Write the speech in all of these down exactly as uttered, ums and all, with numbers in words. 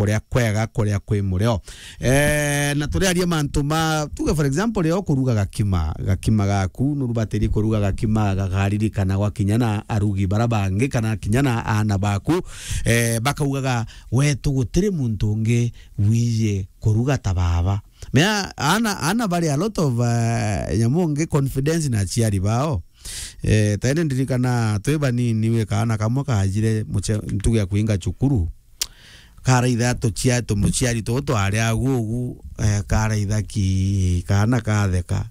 kuria kwega, kuria kwi murio. Eh, na turiaria mantu ma, tuge for example, rio kuruga gakima, gakima gaku, nurubatiri kuruga gakima gakaririkana gwa kinya na arugi bara bangi, kana kinya na aana baku, eh, bakaugaga, "Wetu gutiri muntu ungi wiji kuruga ta baba." Mea, aana, aana bari a lot of, eh, nyamu ngi confidence na aciari bao. Eh, tene ndirikana twi banini, wi kaana kamwe kajire muce-, ntuge ya kuinga cukuru. Karaitha tucia-, tumuciari tutu twari agu ugu, eh, karaitha ki, kaana katheka.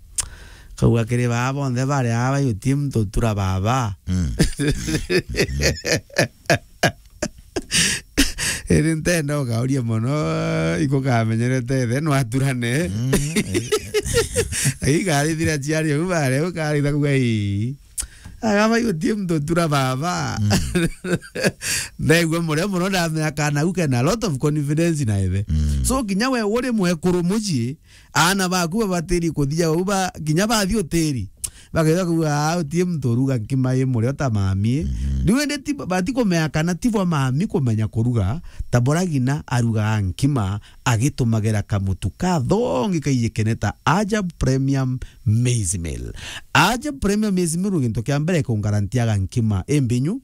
Kauga kiri baa bonthe bari aa, "Uti muntu utura baba." Mm. Iri ntenda ukauria mono, ikukamenyerete ithe no aturane. Mm. Ikarithira ciari u bare, ukaritha kuga, "Ii." Agaba, "Uti muntu utura baba." Mm. Ndaigua murio mono, ndamenya kana u kena a lot of confidence na ithe. Mm. So, kinya we uri mwekuru mucii, aana baku babatiri kuthia u ba, kinya bathi utiri. Bakethira kuuga, "Aa, uti muntu uruga nkima i murio ta mami." Mhm. Riu indi ti, batikumenya kana ti bwa mami kumenya kuruga, ta bora ngina arugaga nkima agitumagira kamutu kathongi kaijikene ta Ajab Premium Maize Meal. Ajab Premium Maize Meal, gintu kia mbere ikungarantiaga nkima imbinyu.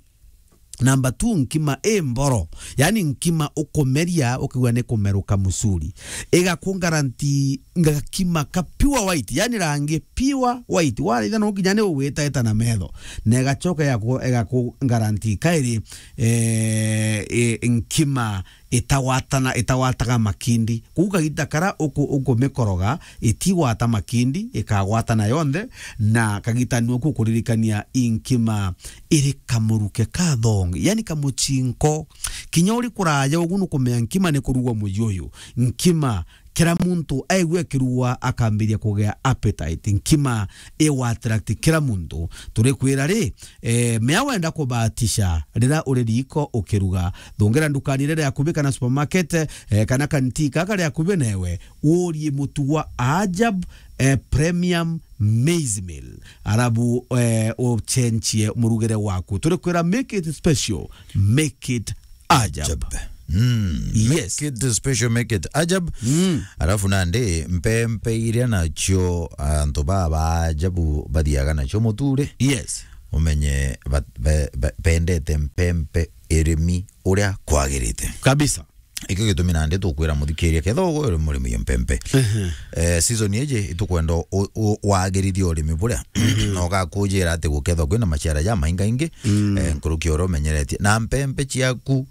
Number two, nkima i mboro. Yani nkima ukumeria, ukigua ni kumeruka musuri. Igakungaranti ngakima ka pure white, yani rangi pure white. Waraitha no kinya ni ugwitaita na metho. Na igacoka igaku-, igakungaranti kairi, eh, i-, nkima itagwatana, itagwataga makindi. Kuu kagita kara uku-, ukumikoroga, itigwata makindi, ikagwatana yonthe, na kagita nio kukuririkania i nkima iri kamuruke ka thongi, yani kamuchinko. Kinya uri kuraja ugu nukumenya nkima ni kurugwa muji uyu. Nkima, kira muntu aigua ikirugwa akambiria kugea appetite. Nkima iwa attract kira muntu. Turikwira ri, eh, mea wenda kubatisha rira uri riko ukiruga, thungira ndukani iria iri akubi kana supermarket, eh, kana kanti kaka kari akubi newe, urie mutu wa Ajab, eh, Premium Maize Meal. Arabu, eh, uchenchie murugire waku. Turikwira, make it special, make it Ajab. Ajab. Mm. Yes. Make it special, make it Ajab. Mm. Arafu nandi mpempe iria nacio antu baba Ajabu bathiaga nacio muture. Yes. Umenye ba-, be-, be-, bendete mpempe irimi uria kwagirite. Kabisa. Ikio gitumi nandi tukwira muthikiria, ketha ugwe uri murimi wa mpempe. Ehe. Eh, season iji itukwenda u-, u-, wagirithie urimi buria. Mhm. Na ugakujira ati gukethwa kwina maciara ja maingaingi, mm, eh, nkuruki uria umenyeretie. Na mpempe ciaku,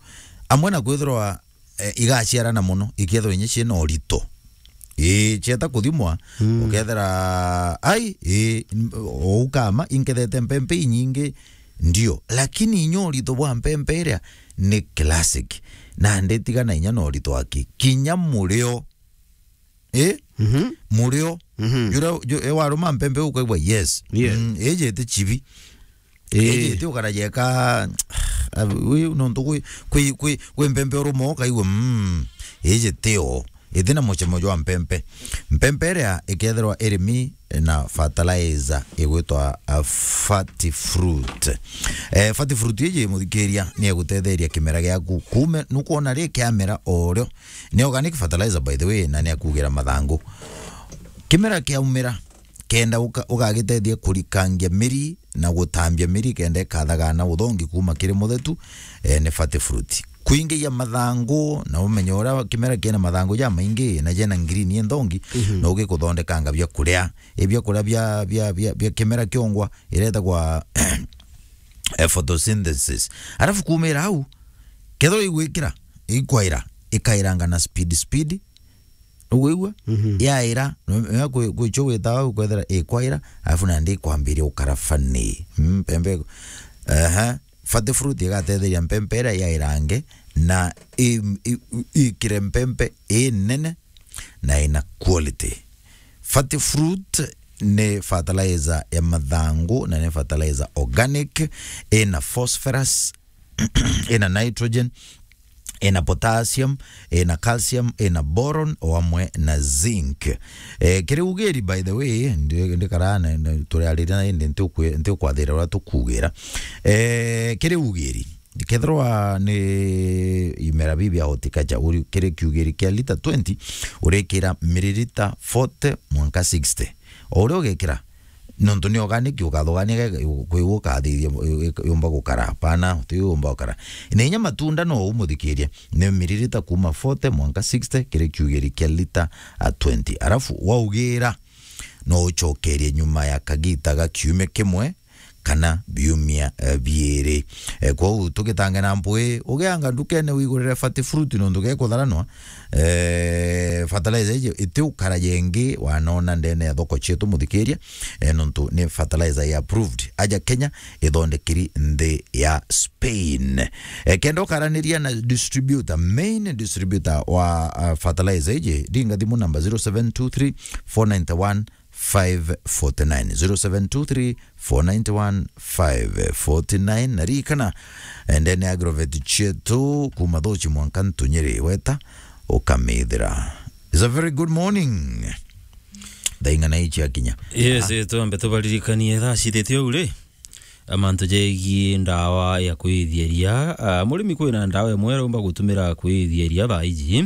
amwe na kwithirwa, eh, igaciarana mono, ikethirwa inya ciina urito. Ii, cieta kuthimwa, mm, ukethira, ai, ii, m-, ou kama, inkethete mpempe inyingi, ndio, lakini inya urito bwa mpempe iria ni classic. Nandi tigana inya na urito aki. Kinya murio. Ii? Mhm. Murio. Mhm. Jura, ju-, e waruma mpempe ukaigua, yes. Yes. Mm, iji ti chibi. Ii. Iji ti ukaraja eka, ah, uyu nontu kwi, kwi, kwi, kwi mpempe uruma ukaigua, mm, iji ti o. Iti na mucemo jwa mpempe. Mpempe iria ikethirwa irimi na fertilizer igwitwa, uh, Fati Fruit. Eh, Fati Fruit iji, muthikiria, ni egutetheria kimera giaku kuume, nukwona ri kiamera o rio. Ni organic fertilizer, by the way, na ni akugira mathangu. Kimera kiaumira, kenda uka-, ugagitethia kurikangia miri na gutambia miri kenda ikathagana uthongi kuuma kiri muthetu, eh, ni Fati Fruit. Kuingiia mathangu na umenye uria kimera kina mathangu jamaingi na jena ngirini inthongi, mhm, no gikuthondekanga bia kuria. I bia kuria bia, bia, bia, bia kimera kiongwa iretagwa, eh, photosynthesis. Arafu kuumira au, kethirwa igwikira, ikwaira, ikairanga na speed, speed, Ugwigua? Mhm. Yaira, no, no, kwi, kwi cho witaga ukwethira ikwaira, alafu nandi ikwambiria ukara funny. Mm, mpempe, aha, Fati Fruit igatetheria mpempe iria yairange na i, i, ikire mpempe i nene na ina quality. Fati Fruit ni fertilizer ya mathangu na ni fertilizer organic, ina phosphorus, ina nitrogen, ina potassium, ina calcium, ina boron, o amwe na zinc. Eh, kiri ugiri, by the way, ndi-, ndikara na, na, turiarira na indi nti ukwi-, nti ukwathira uria tukugira. Eh, kiri ugiri, Kethirwa ni imera bibi ya horticulture, uri kiri kiugiri kia lita twenty, urikira miririta forty mwanka sixty. O uria ugikira, nontu ni organic, ukathugania kwigua ukathithia yumba gukara. Hapana, ti yumba gukara. Na inya matunda no umuthikiria, ni miririta kuma forty mwanka sixty kiri kiugiri kia lita a twenty. Arafu waugira, no ucokerie nyuma ya kagita ga kiumia kimwe kana biumia, eh, biiri. Eh, kwou tugitange na mpui, ugianga ndukene wigurire fati fruit nontu gekutharanwa. Eh, fertilizer iji iti ukara yengi wanona ndene ya thoko cietu, muthikiria, eh, nontu ni fertilizer ya approved. Aja Kenya, ithondekiri nthi ya Spain. Eh, kenda ukaraniria na distributor, main distributor wa, uh, fertilizer iji, ringa thimu namba zero seven two three four nine one five forty nine, zero seven two three four nine one five forty nine. Na ririkana, eh, ndene ya agrovet cietu kuma Thuchi mwanka Ntunyiri, weta ukamithira. It's a very good morning. Thaa ing'ana ici akinya? Yes, ah, eh, twambe tubaririkanie thaa cithitie uu ri, amantu jegie ndawa ya kwithieria. Ah, murimi kwina ndawa imwe aromba gutumira kwithieria thaa iji.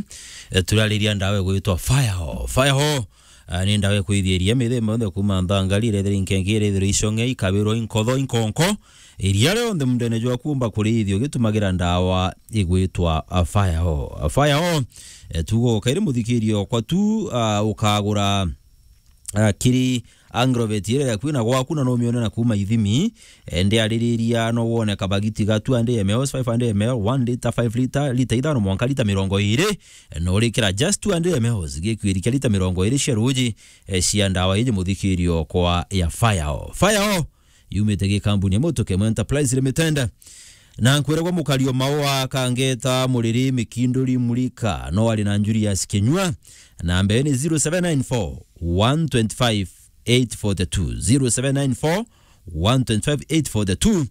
Eh, turariria ndawa igwitwa Firehall. Firehall, ah, ni ndawa ikwithia iria mithemba yonthe kuma nthangari, irethira inkenke, irethira icong'e, ikabirwa, inkotho, inkonko, iria rionthe mundene jwaku umba kurithia ugitumagira ndawa igwitwa, ah, Firehall. Ah, Firehall, eh, tugo kairi muthikirio okwa tu, ah, ukagura, ah, kiri Agrovet iria yaku na gwaku na no umione na kuma ithimi. Eh, ndiaririria no wone kabagiti ga two hundred M L, five hundred M L, one litre, five litre, litre ithano mwanka litre mirongo iri. Eh, no urikira just two hundred M L, gikwiri kia litre mirongo iri cia ruji, eh, cia ndawa iji muthikirio kwa ya Firehall. Firehall yumite gi kambuni ya Mutukemu Enterprise Limited. Na nkwiragwa Mukario Maua, Kangeta, Muriri, Mikinduri, Murika, no ari na Julius Kinyua. Namba ni zero seven nine four, one twenty-five, eight forty-two, zero seven nine four, one twenty-five, eight forty-two.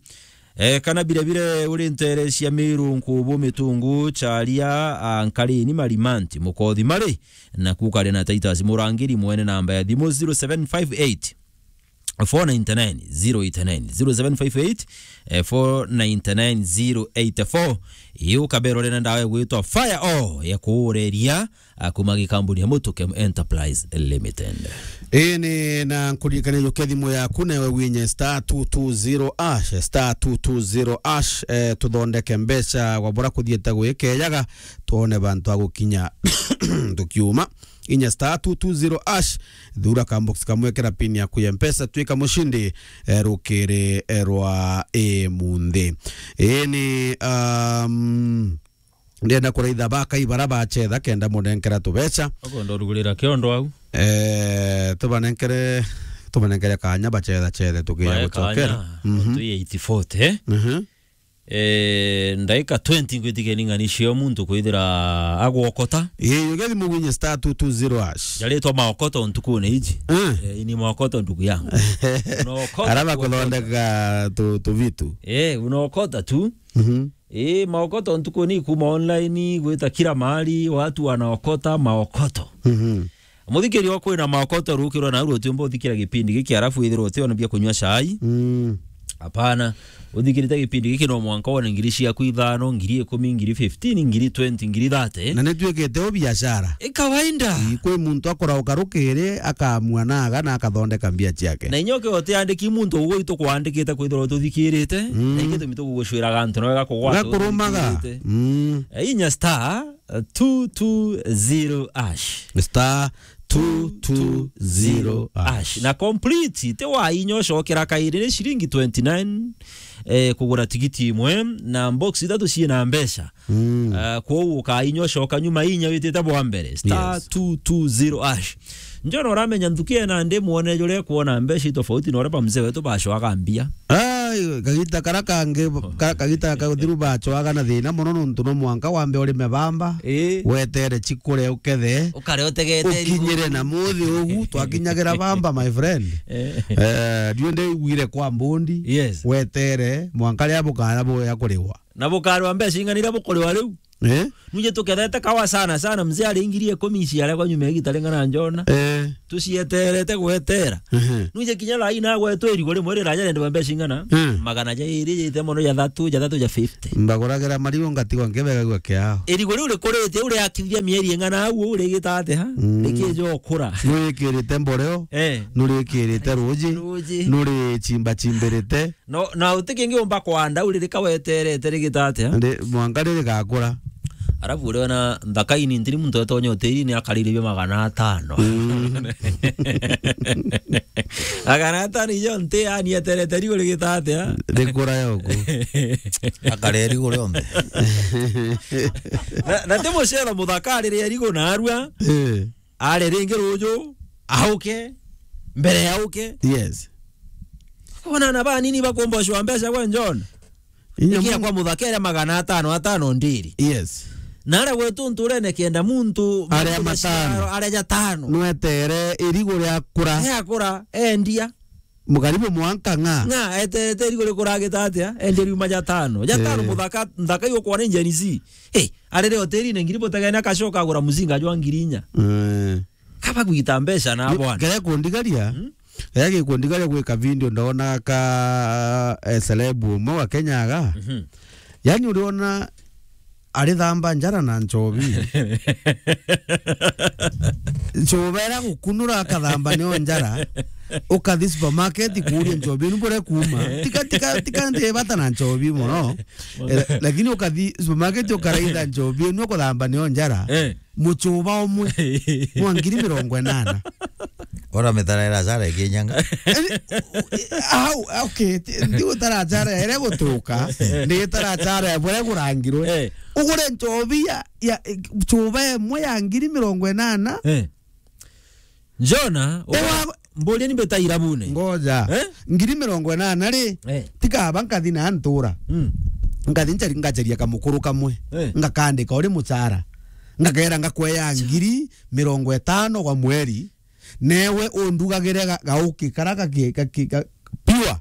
Eh, kana bire bire uri ntere cia Miru, Nkubu, Mitungu, Charia, ah, Nkarini, Marimanti, Mukothi, Mari, na kukari na Titus Murangiri, mwene namba ya thimu zero seven five eight, four nine nine, zero eight nine, zero seven five eight, eh, four nine nine, zero eight four. Ii ukabera uri na ndawa igwitwa Firehall ya kuureria, ah, kuma gikambuni ya Mutukemu Enterprise Limited. Ii ni na nkuririkania jukia thimu yaku, nawe winye star two two zero hash, star two two zero hash, eh, tuthondeke mbeca gwa bura kuthiete gwikejaga, twone bantu a gukinya tukiuma. Inya star two two zero hash, thura ka box kamwe, kira pin yaku ya Mpesa, twika mushindi, eh, rukiri, eh, rwa, eh, munthi. Ii ni, um, ndienda kuraitha bakai bara bachetha kenda munenkera tubeca. Okondo rugurira kiondo au. Eh, tubanenkere, tubanenkere kanya bachetha chethe tukiya gucokera. Mhm. Twi eight forty, eh? Mhm. Eh, ndaika twenty ngwitikeni ng'ani cio muntu kwithira agwokota. Ii, ugethi mugwinye star two two zero hash. Jaritwa maokoto ntukune iji. Eh. Eh, ini maokoto ndugu yangu. Unaokota. Araba tu kuthondeka tu, tu vitu. Eh, unaokota tu. Mhm. Eh, maokoto ntukune kuma online, gwita kila mahali, watu wanaokota maokoto. Mhm. Muthikiri wa kwina maokoto rukirwa na rutiumba uthikira gipindi giki, arafu withirwa utiona bia kunywa chai. Mm. Hapana. Uthikirite gipindi giki no mwanka wone ngiri ciaku ithano, ngiri ikumi, ngiri fifteen, ngiri twenty, ngiri thirty. Na nituikite u biashara. I kawaida. I, kwi muntu akorauka rukiri, akamua naga na akathondeka mbia ciake. Na inya ukiwa utiandiki muntu ugwitu kwandikite kwithirwa tuthikirite, mm, na ingi tumi tugugucwiraga antu nawe gakugwata. Gakurumaga. Uthikirite. Mm. Eh, inya star two two zero hash. Star two two zero hash. Na complete, ti wa inya ucokera kairi, ni ciringi twenty nine, eh, kugura tigiti imwe, na box ithatu ciina mbeca. Mm. Eh, kwou ukainya ucoka nyuma inya witite bwa mbere. Yes. Star two two zero hash. Njona uramenya nthuki ena ndi mwone jure kuona mbeca tofauti na uria ba mzee wetu bacoaga mbia. Ai, kagita kara kangi, ka-, kagita ka uthiru bacoaga na thina mono nontu no mwanka wambe urime bamba, ii, wetere cikure ukethe, ukare utegete ukinyire na muthi ugu, twakinyagira bamba, my friend. Eh. Eh, ndiu ndiguire kwa mbundi, yes, wetere mwanka ria bukara buya kuriwa. Na bukarwa mbeca ing'ana iria bukuriwa riu? Eh? Nuje tukethete kawa sana sana, mzee ari ngiri ikumi ici aria kwa nyuma ya gita ring'ana njona. Eh. Tucieterete gwetera. Ehe. Nuje kinya lai na gwetwe irigo rimwe riraja rendwa mbeca ing'ana? Mm. Magana jairi jite mono ja thatu, ja thatu ja fifty. Mbaguragira marigo ngatigwa nkibegagua kiao. Irigo riu rikurite, uriakithia mieri ing'ana au, urigita ati ha? Mm. Rikijo kura. Nurikirite mboreo, eh, nurikirite ruji, ruji, nurichimba chimbirite. No, na uti kingi umba kwanda, uri rika weterete rigita atia? Ndi, mwanka ririgakura. Arafu uri ona nthaka ini ntiri muntu etonya utiri ni akarire bia magana atano. Mm. Magana atano ijo nti, yani eterete riu rigita atia? Rikura yoku. Akare riu rionthe. Na, na ti mucero muthaka arire riu narua. Eh. Are ringi ruju, auke, mbere ya auke. Yes. Ona na banini bakumbocwa mbeca gwe John. Inya ikia mu- kwa muthaka iria magana atano atano ndiri. Yes. Na aria gwetu nturene kenda muntu aria muntu matano. Aria jatano. Nwetere irigo ria kura. Ria kura, endia. Mukaribu mwanka ng'a. Ng'a, eterete irigo rikuragita atia? Endia riuma jatano. Jatano. Eh. Muthaka, nthaka iu kwona Gen Z. Eh, arere hotelini ngiri butegene akacoka agura muzinga jwa ngiri inya. Eh. Kaba gwita mbeca na bwana. Kaya kundigaria. Hmm? Kaya gikundigaria gwika video ndona ka, eh, celeb umwe wa Kenya aga. Mhm. Yani uriona arithamba njara na nchobi. Nchobi era gukunura akathamba nio njara. Ukathi supermarket kuuria nchobi ni bure kuma. Tika, tika, tika ndi bata na nchobi mono. Eh, lakini ukathi supermarket ukaraitha nchobi ni ukuthamba nio njara. Eh. Muchuba umwe. Mwa ngiri mirongo inana. Ora mitara ira cara ikinyanga. Au, okay, ti, ndi utara cara ere gutuka, ndi itara cara bure kurangirwe. Eh. Ugure nchobi ya, ya, chuba imwe ya ngiri mirongo inana. Eh. Jona, ewa, mburia ni mbita irabune. Ngoja. Eh? Ngiri mirongo inana ri, eh, tikaba nkathi na ntura. Mm. Nkathi nchari-, ngacharia kamukuru kamwe. Eh. Ngakandika uri muchara. Ngakera ngakweya ngiri mirongo itano kwa mweri. Newe undugagire ga-, gauki kara gaki-, gaki-, ga-, pure.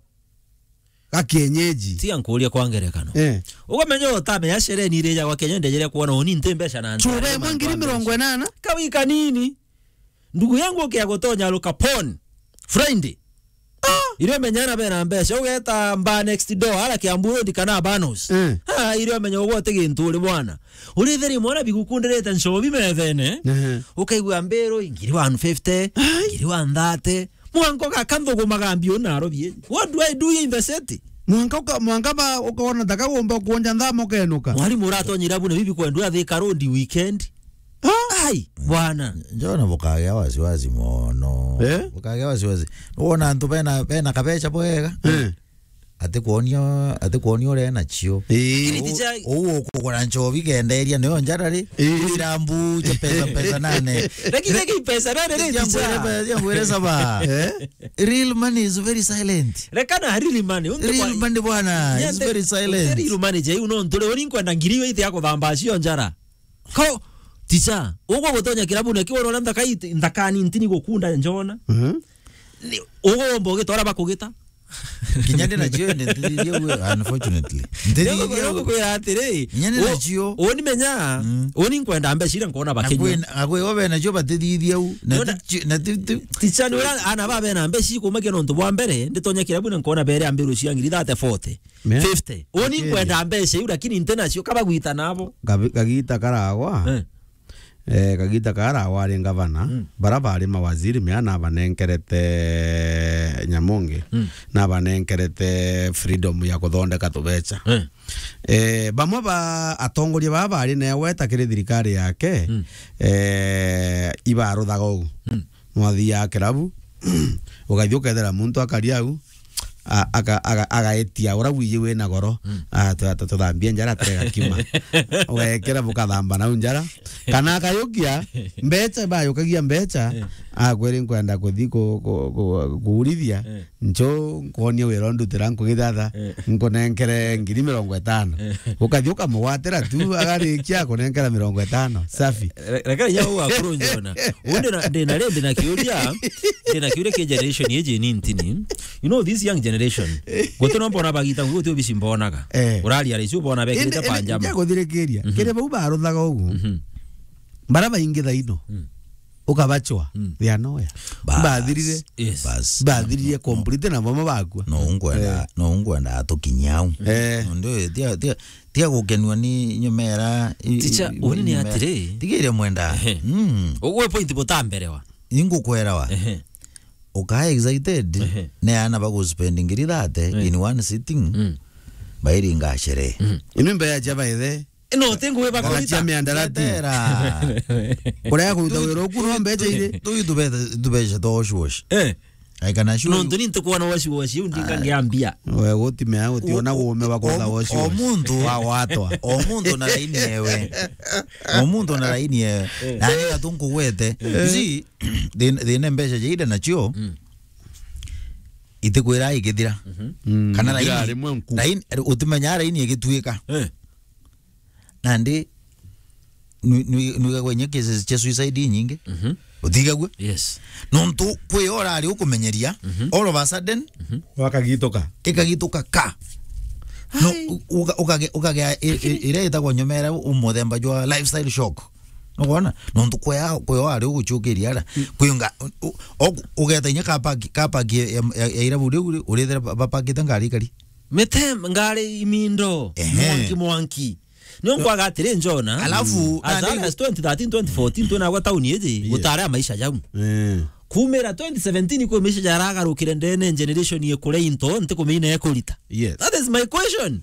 Ga kienyeji. Tiga nkuurie kwa ngerekano. Eh. Ukamenya utamenya shereni iria ijagwa Kenya, ndejere kuona uni nti mbeca na chuba imwe ngiri mirongo inana? Kawi kanini. Ndugu yangu ukia gutonya Lukapon. Friday. Ah! Irio menyana bena mbeca. Ugeta mba next door, ara Kiambu Road kana Banos. Eh. Ah, irio menya ugwe uti gintu uri bwana. Uritheri mwana bigukundirite nchobi methene. Ehe. Ukaigua mbiru, ngiri one fifty, ai, ngiri one thirty. Mwanka ugaka nthuguma gambi unarobie. What do I do here in the city? Mwanka uka-, mwanka ba ukaona taka gomba kuonja nthama ukenuka. Mwalimu uratonyira bune bibi kwendwa Thika Road weekend. Ah? Ai, bwana. Njona bukagea wasiwasi mono. Eh? Bukagea wasiwasi. Wona antu bena, bena kabeca bwega. Eh. Ati kuonia, ati kuonia uria nacio. Ii. Lakini ticha- Uu ukugura nchobi kenderia niyo njara ri. Ii. Irambu cha pesa, pesa nane. Lakini, lakini pesa nane ri, ticha. Jambo ile, jambo ile saba. Eh? Real money is very silent. Rekana real money. Untu real kwa- money bwana, is very silent. Real money je, uno nturi uri nkwenda ngiri iwe ite ya kuthamba cio njara. Ko, ticha, ugwe gutonya kirabu na kiwona uria nthaka iti-, nthaka ni ntini gukunda njona. Mhm. Ni, ugwe womba ugita uria bakugita. Kinya ndi nacio ndi ntithithia ue, unfortunately. Ntithithia ue. Ndio gukwira atiri, kinya ndi u-, nacio. Uni menya, mm, uni nkwenda mbeca iria nkona bakinywa. Akwe, akwe obe nacio batithithia u. Na ti-, na ti-, ti-, ticha ni uria ana babe na mbeca ikumakia nontu bwa mbere, nditonya kirabu na nkona bere ambiru cia ngiri thirty, forty. Mea? Fifty. Uni nkwenda mbeca iu, lakini nte nacio, kaba gwita nabo. Gabi-, kagita karagwa. Eh. Eh, kagita karagwa ari ngavana. Mm. Bara bari mawaziri mea nabanenkerete Nyamonge. Mm. Nabanenkerete freedom ya kuthondeka tubeca. Eh. Eh, bamwe ba atongoria baba bari newe ta kiri thirikari yake, mm, eh, ibaruthaga uu. Mm. Mwathiaga kirabu, ugathi ukethera muntu akari au, a-, aga-, aga-, agaetia uria wiji wina goro, mm, a, tu-, tu-, tuthambie njara atega kima. Ugekera bukathamba nau njara. Kana akayukia mbeca, bayukagia mbeca, eh, akwiri nkwenda kuthi ku-, ku-, ku-, kuurithia, Eh. ncho nkonie wira ndutira nkugithatha, Eh. nkunenkere ngiri mirongo itano. Eh. Ukathi ukamugwatira tu, agarikia kunenkera mirongo itano. Safi. Re-, reke inya uu akuru njona. Uu ndina, ndina ri, ndina kiuria, ndina kiuria ki generation iji ni ntini. You know, this young generation, guti no mbona bagita nguo ti obici mbonaga. Eh. Uraria ri, icio ubona bekirite Indi, indi, panjama. Nja kuthirikiria. Mhm. Kiri bau baruthaga ugu. Mhm. Bara baingi thaino. Mm. Ukabachwa. Mm. They are nowhere. Bas. Bathirire. Yes. Bas. Bathirire complete na mama bakua. No ngwenda, Eh. no ngwenda atukinyia au. Eh. Ndio, tia, tia, tia gukenua ni nyumera, i-, Ticha, i-, uni ni nyumera. Atiri. Tigire mwenda. Ehe. Mm. Ugwe point butamberewa. Ingukwerawa. Ehe. Ukaa excited, Ehe. ne ana baguspend ngiri thirty Eh. in one sitting. Mm. Bairinga sherehe. Mm. Inu mbeya cha baithe. No, ti ngugi bakurita. Gagatia miandarati. Ndetera. Kuria kuruta wira uku no mbecha iri. Tu, tu, tu, tu, tu, tu, tu, tu, Eh. I can assure you. Nontu ni ntukuona washi washi, u ndinga Ah. ngiambia. We gutimea, utiona O, guume wa kutha o, washi o washi. Muntu, Wa gwatwa. O muntu na raini ewe. O muntu na raini ewe. Eh. Na ni gatu nkugwete. Eh. You see, thi-, thina mbecha jaida nacio, Mm. itikwira ikithira. Mhm. Mm, Kana ithira raini, rimwe nku. Raini, utimenya raini igituika. Eh. Nandi, nwi-, nwi-, nwigagwa inya cases cia suicide inyingi. Mhm. Utigagua? Yes. Nontu kwi ora ari ukumenyeria, Mhm. all of a sudden, Mhm. Wakagituka. Ikagituka ka. No, Hai. u-, uka-, ukage-, ukagea i-, i-, Lakini iria itagwa nyomera u-, muthemba jwa lifestyle shock. Nukwona? Nontu kwea, kwea ari uguchukiria ara. Mm. Kwinga, u-, u-, ogu-, ugeta inya car park, car park ya, ya, ya, ya irabu riu ri-, urithira ba-, bapakite ngari ikari. Mete ngari imindo, Ehe. mwanki, mwanki. Nio nkwaga atiri njona, Alafu, as nandi early as twenty thirteen, twenty fourteen, twinagwa tauni iji, Yes. gutari a maisha jau. Eh. Kumira twenty seventeen kwi maisha jaragarukire ndene generation ye kuria into, nti kumenya ikurita. Yes. That is my question.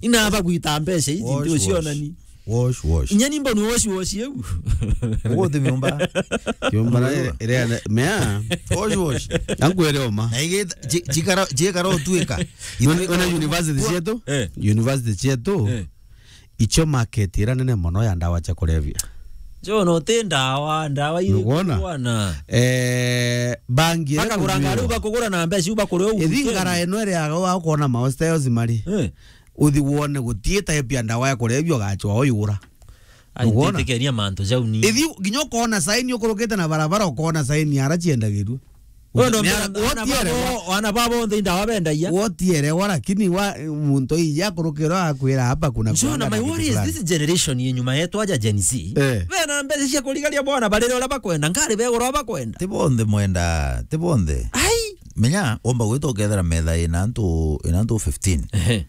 Inaba gwita mbeca iji, Wash, nti ucionani. Wash, wash. Inya ni mboni wash, wash eu. Uguthi miumba. Kiumba na ire, ire, mea. Wash, wash. Ankwere oma. Na igita, ji-, jikara, jikara utuika. Ona, ona university cietu, Eh. university cietu, Eh. icio market ira nene mono ya ndawa cia kulevya. Jo, no ti ndawa, ndawa iri Nukwona? Bwana. Eh, bangi ira Bakagura ngari, kunyua. Bakugura na mbeca, iu bakuria u Ithi weekend. Ngara ino iri aga wa kuona ma hostels mari. Eh. Uthi wone gutie type ya ndawa ya kulevya ugachwa uyura. Ai, Nukwona? Ntitikenia mantu jau ni. Ithi nginya ukona sign ukurukite na barabara, ukona sign ara ciendagirua. Wewe ndo Nera-, mbona wana wotiere babo, wa- wana babo nthe indawa bendagia? Wotiere wa, lakini wa, muntu ija akurukirwa akwira, "Hapa kuna Njona, kuanga na my kitu worry is fulani." This generation ye nyuma yetu aja Gen Z. Eh. Bena mbeca cia kurigaria bwana, barire uria bakwenda, ngari begura uria bakwenda. Ti bonthe mwenda, ti bonthe. Ai! Menya, omba gwita ukethera metha ina antu, ina antu fifteen. Ehe.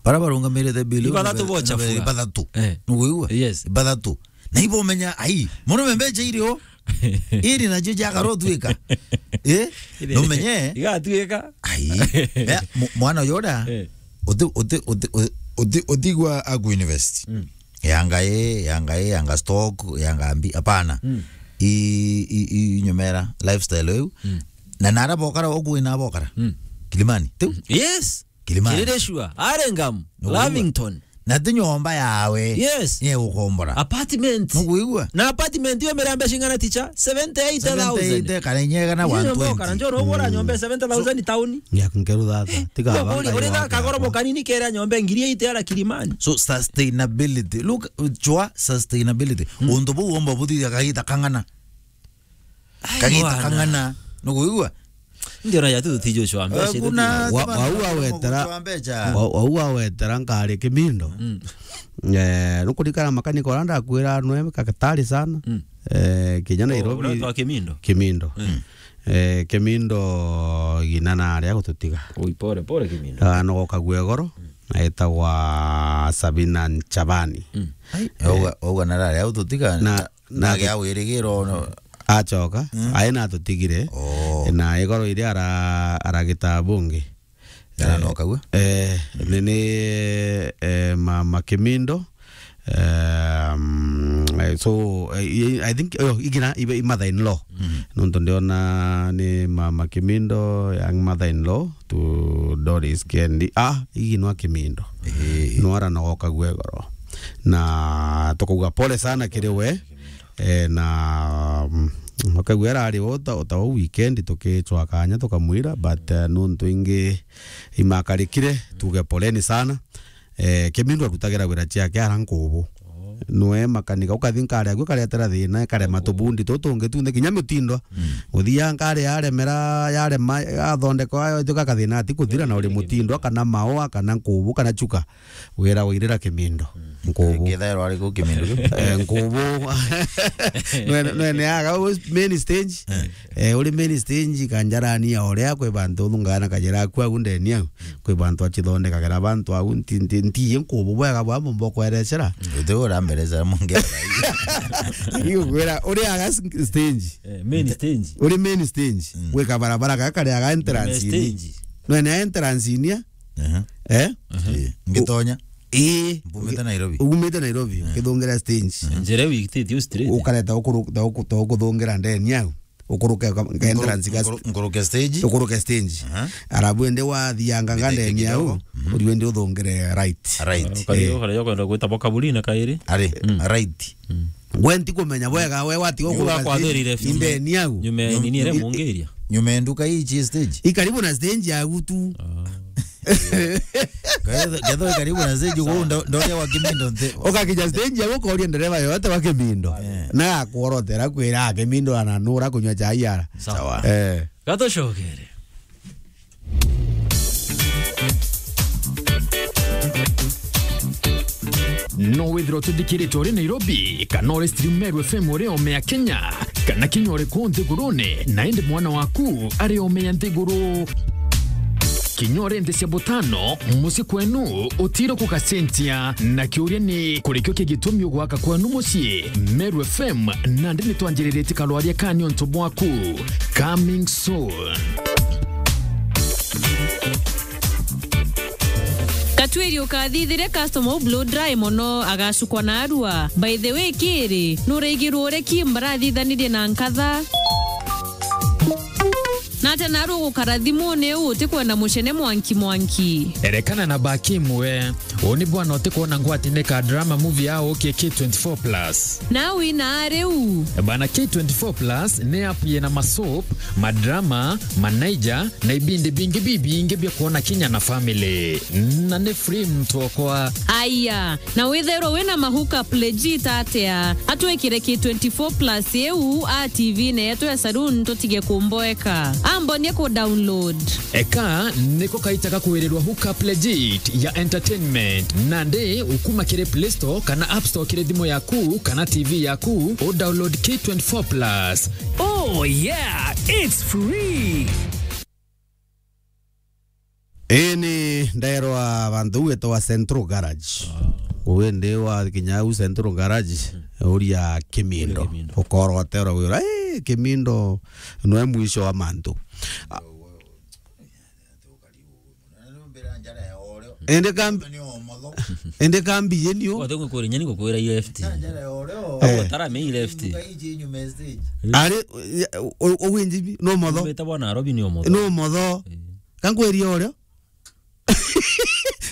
Bara barungamirite bill Ibathatu bocha fua. Ibathatu. Eh. Nuguigua? Yes. Ibathatu. Na ibo menya, ai, murume mbecha irio. Iri nacio ciakara utuika. Eh? Iri. Numenye? Igatuika. Ai. Ya, mu-, mwana uyu uria, Eh. uti, uti, uti, uti, uti, utigwa aku university. Mm. Yanga i, yanga i, yanga stock, yanga mbi, hapana. Mm. I, i, i nyomera, lifestyle iu. Mm. Na nara bokara, uku ina bokara. Mm. Kilimani. Tiu? Yes. Kilimani. Kirire sure. Arengamu. Nuguigua? Lavington. Na ti nyomba yawe. Yes. Ni ukombora. Apartment. Nuguigua? Na apartment yo mirambe cingana ticha? Seventy eight thousand. Seventy eight kana inyega na Iyo nyomba one twenty. Okara, njoro ubora nyomba seventy thousand town. Ya kungeru thata. Tiga Yo banga uri, uri yo thaka goro kanini kera nyomba ngiri eight ara Kilimani. So sustainability. Look, chwa sustainability. Mm. Untu buu omba buthithia kagita kang'ana. Ai, Kagita bwana. Kang'ana. Nuguigua? Ndio na yatu tutijo chwa mbeca. Wa-, wau awetera, wa-, wau awetera nkari Kimindo. Mm. Eh, nukurikana makanika uria ndakwira nwe kakatari sana. Mm. Eh, kinya Nairobi. Uria wa Kimindo? Kimindo. Mm. Eh, Kimindo gina na aria gututiga. Ui, pole, pole Kimindo. Ah, no gokagua igoro, Mm. na etagwa Sabina Nchabani. Mm. Ai, auga, auga na aria gututiga. Na Na nage awirigiro no. Acoka, Mm. aina atutigire. Oh. Na igoro iria ara-, aragita bungi. Kana Eh, no kagua? Eh, ni, ni, eh, ma, ma Kimindo. Um, eh, so, eh, I, I think, oh, igina, ibe, i mother in law. Mm. Nontu ndiona ni ma, ma Kimindo, young mother in law to Doris Kendi. Ah, igi nwa Kimindo. Eh. Nwara no gokagua igoro. Na tukauga pole sana kiri we. Eh, na, mm, akauga arari o ta, o ta o weekend tukicwa kanya tukamwira, but, eh, nuntu ingi imakarikire, tuge poleni sana. Eh, Kimindo arutagira wira ciake ara Nkubu. Nwe makanika ukathi nkari agu karetera thina, karema tubundi tutungi tunthi kinya mutindo. Uthia nkari yaremera, yarema, athondeka, ayo tuka kathina ati kuthira na uri mutindo, kana maua, kana Nkubu, kana chuka. Wira wairira Kimindo. Nkubu. Kithairwa ari ku Kimindo kiu? Eh, Nkubu. Nwene, nwene aga u main stage. Eh, uri main stage kanjarani ya uria kwi bantu thungana kajira aku au ndeni au. Kwi bantu achithondekagira bantu au nti, nti, nti Nkubu bwega bwa mumbo kwerecera. Uti uramberecera mungi. Iu kwira uri aga s-, stage. Eh, main stage. Uri main stage. Gwi kabarabara gaka kari aga entrance. Main stage. Nwene entrance inia. Aha. Eh? Eh, ngitonya. Ii. Mbumite Nairobi. Umite Nairobi, ukithungira stage. Njira iu ikititie straight. Ukareta ukuru-, ta uku-, ta ukuthungira ndeni au. Ukuruke ka-, ka entrance gas. Nkuru-, nkuruke stage. Ukuruke stage. Aha. Arabu ende wathianga nga ndeni au, uriu ende uthungire right. Right. Ukari-, eh, ukari ukwenda gwita bo kaburi na kairi. Ari, right. We ntikumenya bwega, we watiga ukurwa kwathirire ndeni au. Nyume nini ire mungiria? Nyume nduka iji stage. I karibu na stage yagu tu. Ah. Ketho, ketho karibu na stage, ndo, ndo, ndoria wa Kimindo nte. Ukakinya stage yagu ukoria ndereva yote wa Kimindo. Eh. Na akuorotera kwira Kimindo ananura kunywa chai ara. Sawa. Eh. Gatucokere. No withirwa ututhikiritwe uri Nairobi, kana uri stream Meru F M uri ome ya Kenya, kana kinya uri kuu nthigurune, na indi mwana waku ari ome ya nthiguru. Kinya uri nthi cia butano, mucii kwenu utiro kugacenjia. Na kiuria ni, kurikio ki gitumi ugwaka kwenu mucii? Meru F M, nandi ni twanjiriritie karwaria ka niuntu bwaku. Coming soon. Katwiri ukathithire customer u blow dry mono, agacukwa na arua. By the way, kiri, nuraigirwe uria ki mbarathithanirie na nkatha? Nate naru ugukara thimune u utikwenda mucene mwanki mwanki? Erekana na baki imwe. Uu ni bwana utikwona ngwatine ka drama movie ya ukie K twenty-four plus. Na wina riu? Bana, K twenty-four plus ni app yina masoap, madrama, manaija, na ibindi bingi bibingi bia kwona kinya na family. Na ni free mtu okwa. Aya, na withairwa wina ma hookup legit atia? Atwikire K twenty-four plus iu a T V-ne yetu ya saloon tutige kumboeka. Ambonie ku download. Eka niko kaita ga kwirirwa hookup legit ya entertainment. Nandi ukuma kiri Play Store kana App Store kiri thimu yaku kana T V yaku, u download K twenty-four plus. Oh yeah, it's free. Ii ni ndaerwa bantu u wetagwa Central Garage. Uu indi wa kinya u Central Garage, uria Kimindo. Uria Kimindo. Ukoroterwa wira, "Ii, Kimindo nwe mwisho wa mantu." Indi kambi, indi kambi yeni u. Wathe ngwikure nyani ngukwira i left. Eh. Tarame i left. Ari, u-, u-, uwinji bi, no motho. Umite bwana Nairobi ni umotho. No motho. Eh. Kankwiria urio.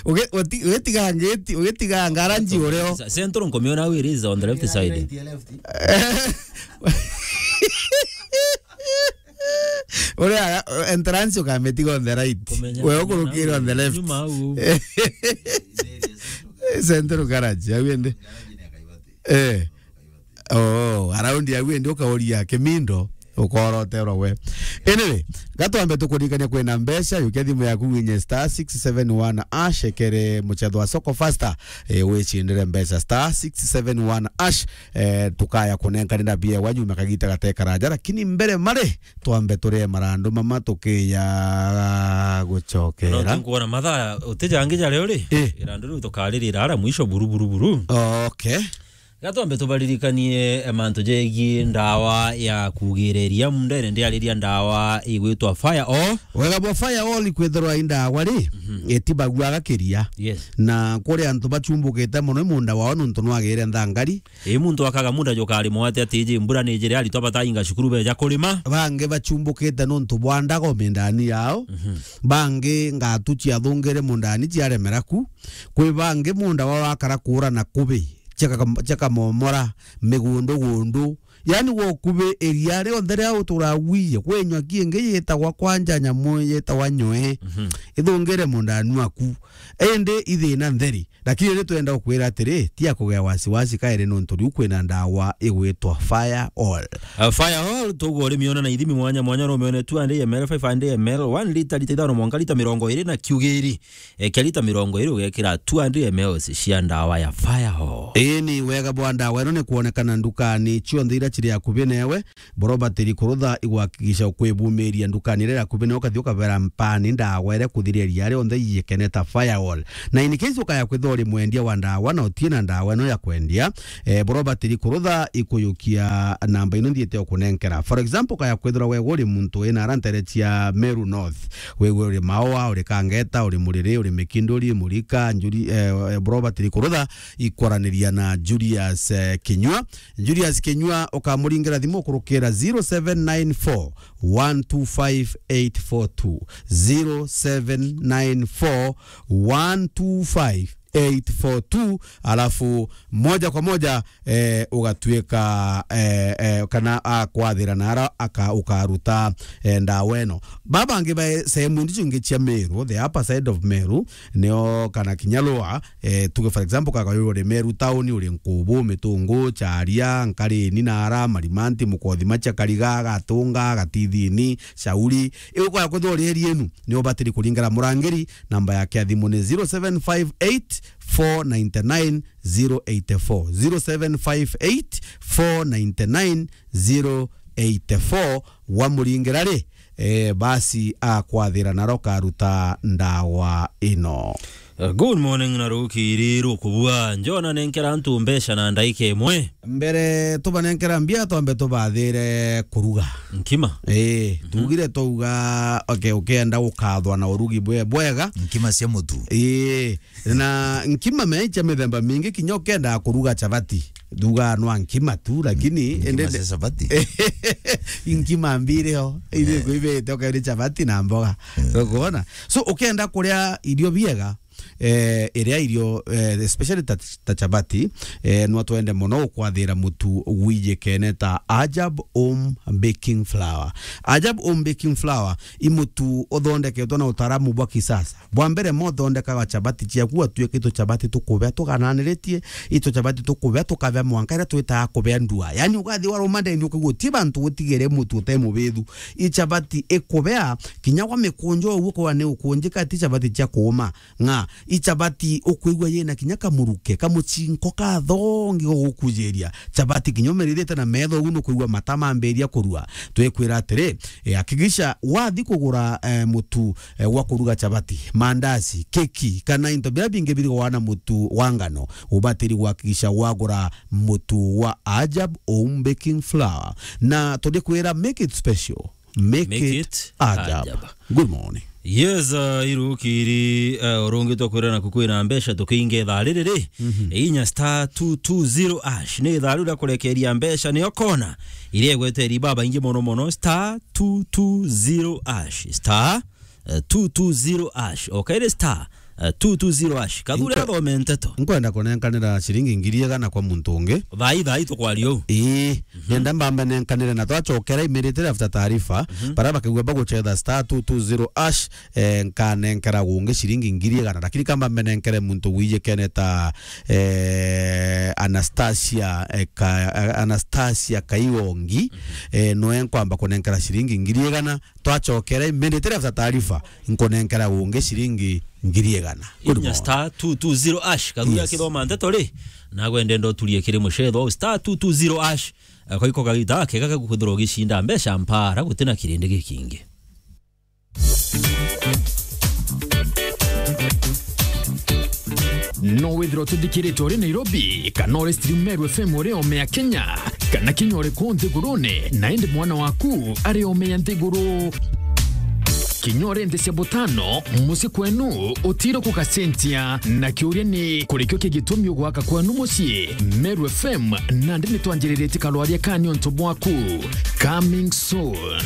Uge-, uti-, ugetiga ngeti-, ugetiga ngaranji urio. Sa-, Central nkomiona where is on the left side. Uria entrance ukametiga on the right. Kumenya we ukurukire on the left. Nyuma au. Central Garage, au ende. Eh. Oh, around ya wendi ukauria Kimindo, ukoroterwa we. Anyway, gatwambe tukuririkania kwina mbeca, yukia thimu yaku winye star six seven one hash, ekere muchetho wa Soko Faster, eh, wicindire mbeca star six seven one hash, eh, tukaya kunenkanira biewa nyuma kagita gatekaraja, lakini mbere mare, twambe turie marandu mama tukiya gucokera. No, tinkuona mathaa, utijangi jaria uri? Eh. Irandu riu tukaririra ara mwisho buru, buru, buru. Okay. Gatwambe tubaririkanie, eh, mantu jegie ndawa ya kugireria mundene, ndiariria ndawa igwitwa Fire All. Wega bwa Fire All ikwithirwa i ndawa ri, mhm, itibaguaga kiria. Yes. Na kuri antu bachumbukite mono i munda wao nuntu nwagire nthangari. Ii, muntu akaga munda jukari mwate ati iji mbura ni jiri aritwa batainga cukuru beja kurima. Bangi bachumbukite nuntu bwa ndago mindani yao. Mhm. Bangi ngatu ciathungire mundani ciaremera ku. Kwi bangi munda wao akara kuura na kubi. ciaka-, ciakamomora, migundu gundu. Yaani, gwa ukubi iria rionthe ria uturaguiye, kwi nywaki ingi yitagwa kwanja nyamu yitagwa nyoe. Mhm. Ithungire mundanu aku. Indi ithina ntheri. Lakini ni twenda gukwira atiri, tia kugea wasiwasi kairi nontu riu kwina ndawa igwitwa Fire All. Uh, Fire All, tugwa urimiona na ithimi mwanya mwanya, no umione two hundred M L, five hundred M L, one liter, liter ithano mwanka liter mirongo iri na kiugiri. Ekia lita mirongo iri ugekira two hundred M L cia ndawa ya Fire All. Ii ni wega bwa ndawa ino ni kwonekana ndukani cionthe iria ciri akubi newe. Borobatiri kurutha igwakikisha ukwibumiria ndukani iria iri akubi newe, ukathi ukabera mpani ndawa iria kuthiria ria rionthe iikene ta Fire All. Na in case ukaya kwithwa uri mwendia wa ndawa na utie na ndawa ino ya kwendia, eh, borobatiri kurutha ikuyukia namba ino nthiite ukunenkera. For example, ukaya kwithirwa we uri muntu wina ara ntere cia Meru North, wewe uri Maua, uri Kangeta, uri Muriri, uri Mikinduri, Murika, Njuri, eh, eh, Robert Rikurutha, ikwaraniria na Julius, eh, Kinyua. Julius Kinyua ukamuringira thimu ukurukira zero seven nine four one two five eight four two, zero seven nine four one two five eight four two, alafu moja kwa moja, eh, ugatuika, eh, eh, kana akwathira na ara aka-, ukaruta, eh, ndawa ino. Baba bangi ba sehemu indi cingi cia Meru, the upper side of Meru, nio kana kinya Lower, eh, tuge for example, kaga uri Meru town, uri Nkubu, Mitungu, Charia, Nkarini na ara, Marimanti, Mukothima cia Kariga, Gatunga, Gatithini, Shauri, iu kwaya kwithwa uri area inu, ni ubatiri kuringana murangiri, namba yake ya thimu ni zero seven five eight four nine nine zero eight four, zero seven five eight four nine nine zero eight four. Wamuringira ri, eh, basi akwathira naro karuta ndawa ino. Uh, good morning na rukiri rukubua. Njona nenkera antu mbeca na ndaika imwe. Mbere tubanenkera mbia, twambe tubathire kuruga. Nkima? Ii, mhm, tugire twauga, okay, ukienda gukathwa na urugi bwe-, bwega. Nkima cia mutu. Ii, na nkima mea icia mithemba mingi, kinya ukienda kuruga chabati, thuga nwa nkima tu, lakini nkima ende cia chabati. Nkima mbiri ho, ile, eh, kuibete, okay, ni chabati na mboga. Eh. Ukuona? So, ukienda kuria irio biega, eh, iria irio, eh, especially ta, ta chapati, eh, no twende mono gukwathira mutu wijikene ta Ajab Home Baking Flour. Ajab Home Baking Flour i mutu uthondeketwe na utaaramu bwa kisasa. Bwa mbere, mo uthondekaga chapati ciaku, atuike itu chapati tukubea tugananiritie, itu chapati tukubea tukabea mwanka iria twitaga kubea ndua. Yaani, ugathi waruma ndeni ukaigua ti bantu gutigere mutu utemubithu. I chapati ikubea, kinya wa mikunjo uguo kwa ni ukunjika, ti chapati cia kuuma. Ng'a, i chapati ukwigua yina kinya kamuruke, kamuchinko kathongi gugukujiria. Chapati kinya umirithite na metho ugu nukwigua mata mambiria kurua. Twikwira atiri, e, hakikisha wathi kugura, e, mutu, e, gwa kuruga chapati, mandazi, keki, kana into biria bingi birigwa na mutu wa ngano, ubatiri gwakikisha wagura mutu wa Ajab Home Baking Flour. Na turikwira, make it special. Make it Ajab. Good morning. Yes, uh, irukiri, uh, urungi twakwira naku kwina mbeca tukiinge thaa riri ri. Mhm. Inya star two two zero hash. Ni thaa riu ria kurekeria mbeca, nio kona iria igweteri babaingi mono mono, star two two zero hash. Star, uh, two two zero hash. Okaire star, uh, two two zero hash. Kathuri athome nteto. Nkwenda kunenkanira ciringi ngiri igana kwa muntu ungi. Thaa ii, thaa ii tukwaria uu. Ii, mhm, nenda mbambe nenkanire na twachokera immediately after taarifa, mhm, bara bakigua baguchetha star two two zero hash, eh, nkanenkera gungi ciringi ngiri igana, lakini kamba mbenenkere muntu wijikene ta, eh, Anastasia, eh, Ka-, Anastasia Kaiwongi, mhm, eh, noe nkwamba kunenkera ciringi ngiri igana, twachokera immediately after taarifa, nkunenkera gungi ciringi ngiri igana. Good morning. Inya star two two zero hash, kathuri, yes, akithoma nteto ri, nagwe ndenda uturie kiri muchetho, star two two zero hash, eh, koiko kagita kega gakukwithirwa ugicinda mbeca mpara gutina kirindi gikingi. No withirwa ututhikiritwe uri Nairobi, kana uri stream Meru F M uri ome ya Kenya, kana kinya uri kuu nthigurune, na indi mwana waku ari ome ya nthiguru. Kinya uri nthi cia butano, mucii kwenu utiro kugacenjia. Na kiuria ni, kurikio ki gitumi ugwaka kwenu mucii? Meru F M, nandi nitwanjiriritie karwaria ka niuntu bwaku. Coming soon.